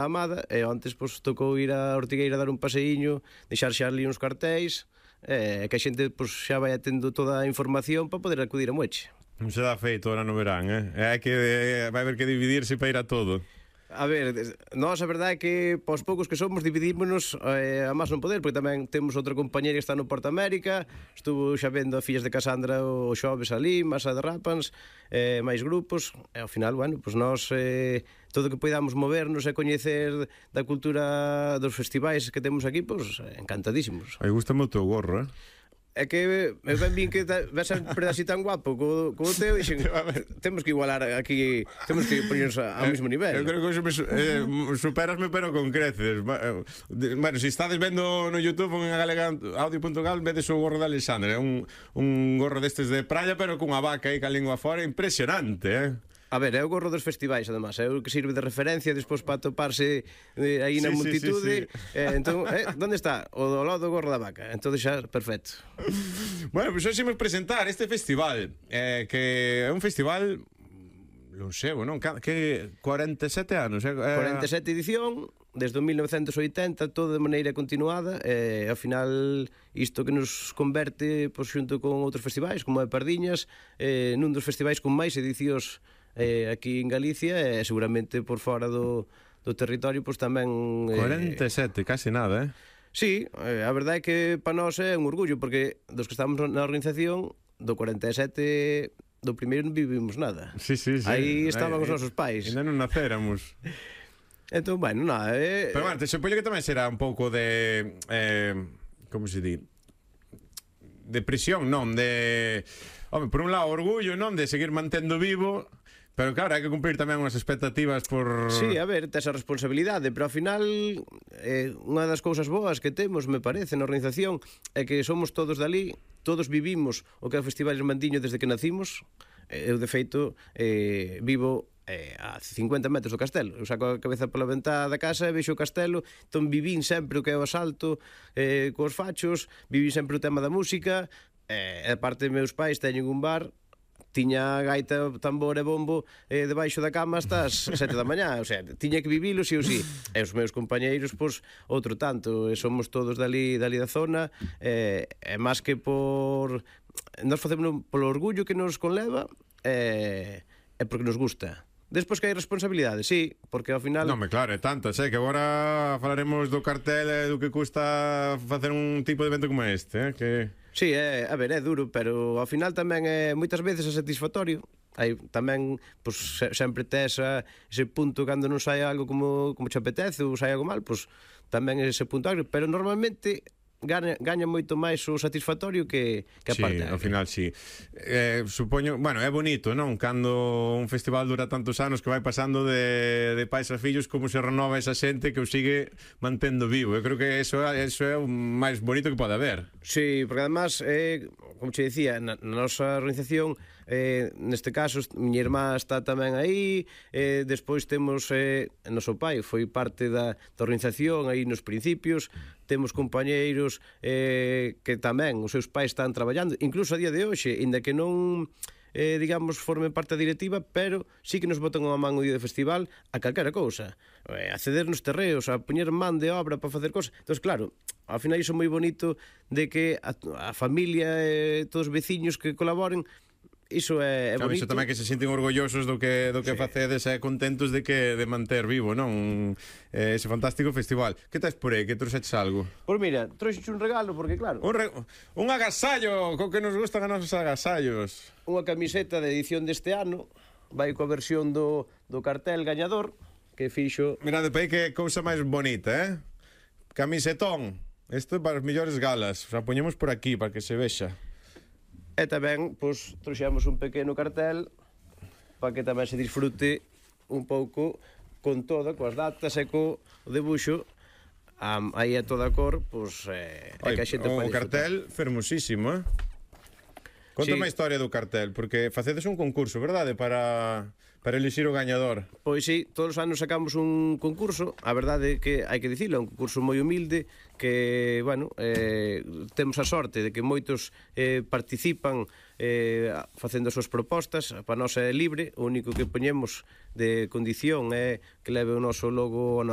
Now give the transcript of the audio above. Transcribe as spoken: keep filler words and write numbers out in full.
Amada, e antes pois, tocou ir a Ortigueira a dar un paseíño, deixar xa ali uns cartéis, e que a xente pois, xa vai atendo toda a información para poder acudir a Moeche. Non se dá feito ahora no verán, eh? É que eh, vai haber que dividirse para ir a todo. A ver, nós a verdade é que pos poucos que somos dividímonos eh, a máis non poder, porque tamén temos outra compañera que está no Porto América, estuvo xa vendo a Fillas de Casandra o xoves ali, Masa de Rápans, eh, máis grupos, e ao final, bueno, pues nós eh, todo o que podamos movernos e coñecer da cultura dos festivais que temos aquí, pues encantadísimos. Ai, gusta o teu gorro, eh? É que me ben vin que ves sempre así tan guapo co, co teu e dixen, temos que igualar aquí, temos que poñernos ao mesmo nivel. Eu creo que eso me, eh, superasme pero con creces. Bueno, se si estades vendo no YouTube en galega audio punto gal, vedes o gorro de Alexandre, é un, un gorro destes de praia pero cunha vaca aí ca lingua fora, impresionante, eh? A ver, é o gorro dos festivais, además, é o que sirve de referencia despois para toparse eh, aí na sí, multitude. sí, sí, sí. Eh, entón, eh, onde está? O do lado do gorro da vaca. Entón xa, perfecto. Bueno, pois pues, hoxe imos presentar este festival, eh, que é un festival lonxevo, non? Que cuarenta e sete anos, eh? cuarenta e sete edición, desde o mil novecentos e oitenta, todo de maneira continuada, e ao final isto que nos converte, pois, xunto con outros festivais, como é Pardiñas, eh, nun dos festivais con máis edicións eh, aquí en Galicia e seguramente por fora do, do territorio pois tamén eh, cuarenta e sete, casi nada, eh? Sí, eh, a verdade é que para nós é un orgullo porque dos que estamos na organización do cuarenta e sete do primeiro non vivimos nada. Sí, sí, sí. Aí estaban Aí, os nosos pais. Ainda non nacéramos. Entón, bueno, nada, eh, pero bueno, te supoño que tamén será un pouco de eh, como se di? De presión, non? De, home, por un lado orgullo, non? De seguir mantendo vivo. Pero claro, hai que cumprir tamén unhas expectativas por... Sí, a ver, tes a responsabilidade, pero ao final eh, unha das cousas boas que temos, me parece, na organización é que somos todos dali, todos vivimos o que é o Festival Irmandiño desde que nacimos. Eu, de feito, eh, vivo eh, a cincuenta metros do castelo. Eu saco a cabeza pola ventá da casa e vexo o castelo, entón vivín sempre o que é o asalto eh, cos fachos, vivín sempre o tema da música, e eh, a parte de meus pais teñen un bar, tiña gaita, tambor e bombo eh, debaixo da cama hasta as sete da mañá, o sea, tiña que vivilo si ou si. E os meus compañeiros, pois, outro tanto, e somos todos dali, dali da zona, e eh, máis que por... Nós facemos polo orgullo que nos conleva, e eh, porque nos gusta. Despois que hai responsabilidade, sí, porque ao final... Non, me claro, é tantas, eh, que agora falaremos do cartel e do que custa facer un tipo de evento como este, eh, que... Sí, é, a ver, é duro, pero ao final tamén é moitas veces é satisfactorio. Hai tamén, pois, sempre tes a, ese punto cando non sai algo como, como te apetece ou sai algo mal, pois tamén é ese punto agrio, pero normalmente Gaña, gaña moito máis o satisfactorio que, que a sí, parte. Ao final, sí. Eh, supoño, bueno, é bonito, non? Cando un festival dura tantos anos que vai pasando de, de pais a fillos, como se renova esa xente que o sigue mantendo vivo. Eu creo que eso, eso é o máis bonito que pode haber. Sí, porque además, eh, como te decía, na, na nosa organización, eh, neste caso, miña irmá está tamén aí, eh, despois temos eh, noso pai, foi parte da, da organización aí nos principios, temos compañeiros eh, que tamén os seus pais están traballando, incluso a día de hoxe, inda que non eh, digamos, formen parte da directiva, pero sí que nos botan unha man o día do festival a calquera cousa, eh, a ceder nos terreos, a poñer man de obra para facer cosas. Entón, claro, ao final iso é moi bonito de que a, a familia e eh, todos os veciños que colaboren, iso é, é claro, bonito. Iso tamén que se sinten orgullosos do que do que sí. facedes e contentos de que de manter vivo, non? Eh, ese fantástico festival. Que tes por aí? Que trouxeches algo? Pois mira, trouxeche un regalo porque claro, un, re... un agasallo, co que nos gustan a nosos agasallos. Unha camiseta de edición deste ano, vai coa versión do, do cartel gañador que fixo. Mirade, pei que cousa máis bonita, eh? Camisetón. Isto é para as mellores galas. O sea, poñemos por aquí para que se vexa. E tamén, pois, trouxemos un pequeno cartel para que tamén se disfrute un pouco con toda, coas datas e co debuxo, um, aí a toda a cor, pois, eh, é que a xente o cartel fermosísimo, eh? Conta sí. má historia do cartel, porque facedes un concurso, verdade, para para elixir o gañador. Pois sí, todos os anos sacamos un concurso. A verdade é que hai que dicilo, é un concurso moi humilde que, bueno, eh, temos a sorte de que moitos eh, participan eh, facendo as súas propostas. Para nós é libre, o único que poñemos de condición é que leve o noso logo o